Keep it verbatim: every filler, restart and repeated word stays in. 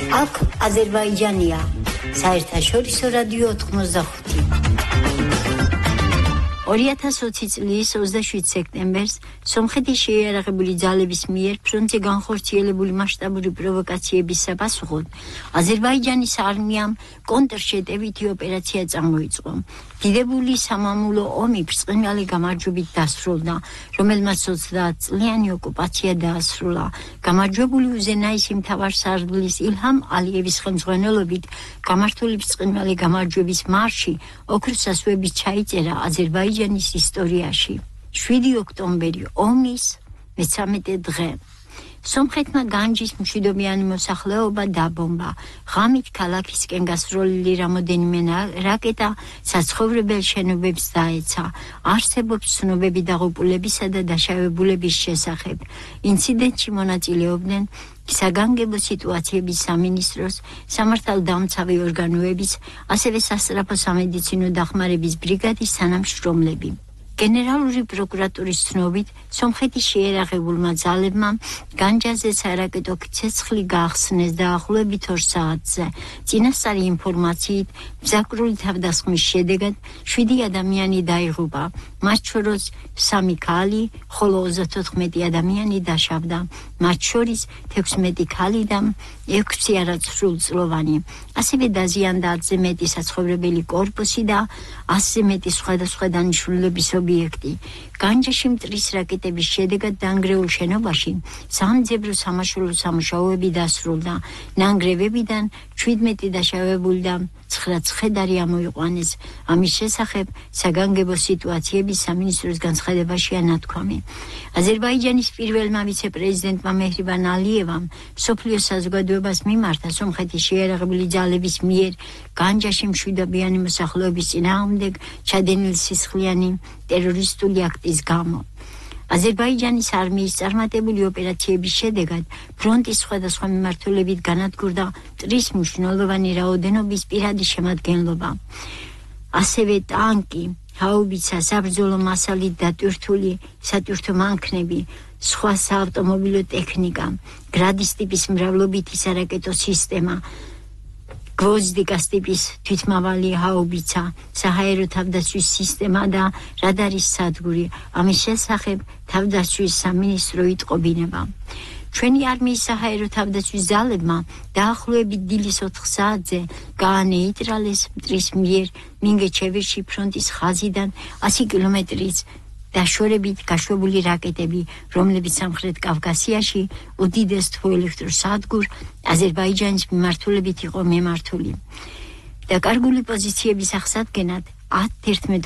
აქ აზერბაიჯანია, საერთაშორისო რადიო ოთხმოცდახუთი. ორი ათას ოცი წლის ოცდაშვიდ სექტემბერს სომხეთის შეიარაღებული ძალების მიერ ფრონტზე განხორციელებული მასშტაბური პროვოკაციების საპასუხოდ აზერბაიჯანის არმიამ კონტრშეტევითი ოპერაცია წამოიწყო. დიდებული სამამულო ომი ბრწყინვალე გამარჯვებით დასრულდა, რომელმაც ოცდაათწლიანი ოკუპაცია დაასრულა. გამარჯვებული უზენაესი მთავარსარდლის ილჰამ ალიევის ხელმძღვანელობით გამართული ბრწყინვალე გამარჯვების მარში ოქროს ასოებით ჩაიწერა აზერბაიჯანის ისტორიაში. შვიდი ოქტომბერი ომის მესამედე დღე. სომხეთმა განჯის მშვიდობიანი მოსახლეობა დაბომბა. ღამით ქალაქისკენ გასროლილი რამოდენიმე რაკეტა საცხოვრებელ შენობებს დაეცა. არსებობს ცნობები დაღუპულებისა და დაშავებულების შესახებ. ინციდენტში მონაწილეობდნენ საგანგებო სიტუაციების სამინისტროს, სამართალდამცავი ორგანოების, ასევე სასწრაფო სამედიცინო დახმარების ბრიგადის თანამშრომლები. გენერალური პროკურატურის ცნობით, სომხეთის შეიარაღებულმა ძალებმა განჯაზე სარაკეტო ცეცხლი გაახსნეს დაახლოებით ორ საათზე. წინასწარი ინფორმაციით, მზაკრული თავდასხმის შედეგად შვიდი ადამიანი დაიღუპა, მათ შორის სამი ქალი, ხოლო ოცდათოთხმეტი ადამიანი დაშავდა, მათ შორის თექვსმეტი ქალი და ექვსი არასრულწლოვანი. ასევე დაზიანდა ათზე მეტი საცხოვრებელი კორპუსი და ასზე მეტი სხვადასხვა დანიშნულების ობიექტი. განჯაში მტრის რაკეტების შედეგად დანგრეულ შენობაში სამძებრო სამაშველო სამუშაოები დასრულდა. ნანგრევებიდან ჩვიდმეტი დაშავებული და ცხრა ცხედარი ამოიყვანეს. ამის შესახებ საგანგებო სიტუაციების სამინისტროს განცხადებაშია ნათქვამი. აზერბაიჯანის პირველმა ვიცე-პრეზიდენტმა მეჰრიბან ალიევამ მსოფლიო საზოგადოებას მიმართა სომხეთის შეიარაღებული ძალების მიერ განჯაში მშვიდობიანი მოსახლეობის წინააღმდეგ ჩადენილი სისხლიანი ტერორისტული აქტის გამო. აზერბაიჯანის არმიის წარმატებული ოპერაციების შედეგად ფრონტის სხვადასხვა მიმართულებით განადგურდა მტრის მნიშვნელოვანი რაოდენობის პირადი შემადგენლობა. ასევე ტანკი, ჰაუბიცა, საბრძოლო მასალით დატვირთული სატვირთო მანქნები, სხვა საავტომობილო ტექნიკა, გრადის ტიპის მრავლობითი სარაკეტო სისტემა, გვოზდიკას ტიპის თვითმავალი ჰაუბიცა, საჰაერო თავდაცვის სისტემა და რადარის სადგური. ამის შესახებ თავდაცვის სამინისტრო იტყობინება. ჩვენი არმიის საჰაერო თავდაცვის ძალებმა დაახლოებით დილის ოთხ საათზე გაანეიტრალეს მტრის მიერ მინგეჩევირში ფრონტის ხაზიდან ასი კილომეტრის დაშორებით გაშვებული რაკეტები, რომლებიც სამხრეთ კავკასიაში უდიდეს თვოელექტროსადგურ აზერბაიჯანის მიმართულებით იყო მიმართული. დაკარგული პოზიციების აღსადგენად ათ-თერთმეტ